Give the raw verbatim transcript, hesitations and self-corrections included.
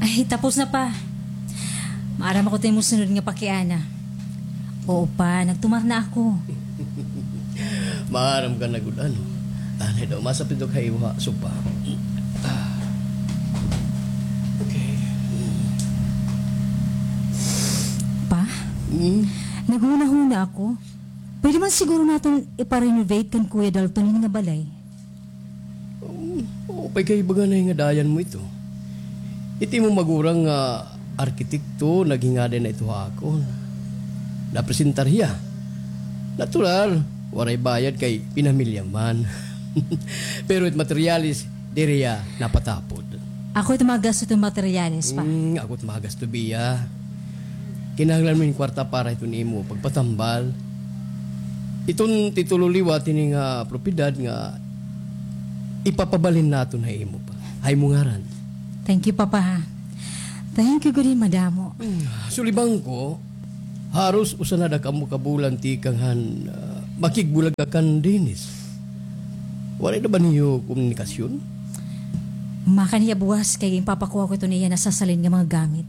Ay, tapos na, Pa. Maaram ako ta imo sunod nga pakiana. Oo, Pa, nagtumar na ako. Maaram ka na gud, ano? Anay daw, masapidok ha imo ha, sopa. Ah. Okay. Pa, Mm. naghuna-huna ako. Pwede man siguro naton ipa-renovate kan Kuya Dalton ini nga balay? Um, oo, pay kay baganay nga dayan mo ito. Iti mo magurang nga arkitekto, naghingaday na ito ha akon. Napresentar hiya. Natural, waray bayad kay pinamilya man. Pero it materialis, diri hiya napatapod. Ako it magasto it materyales, Pa. Mm, ako it magasto, biya. Kinahanglan mo hin kwarta para hiton imo pagpatambal. Iton titulo liwat hini nga propiedad nga ipapabalhin naton ha imo, Pa. Ha imo ngaran. Thank you, Papa, ha. Thank you gud hin madamo. Sulibangko, haros usa na da kamo ka bulan tikang han, ah, makigbulag ka kan Dennis. Waray na ba niyo komunikasyon? Makaniya buwas kay ginpapakuha ko ito niya nasasalin nga mga gamit.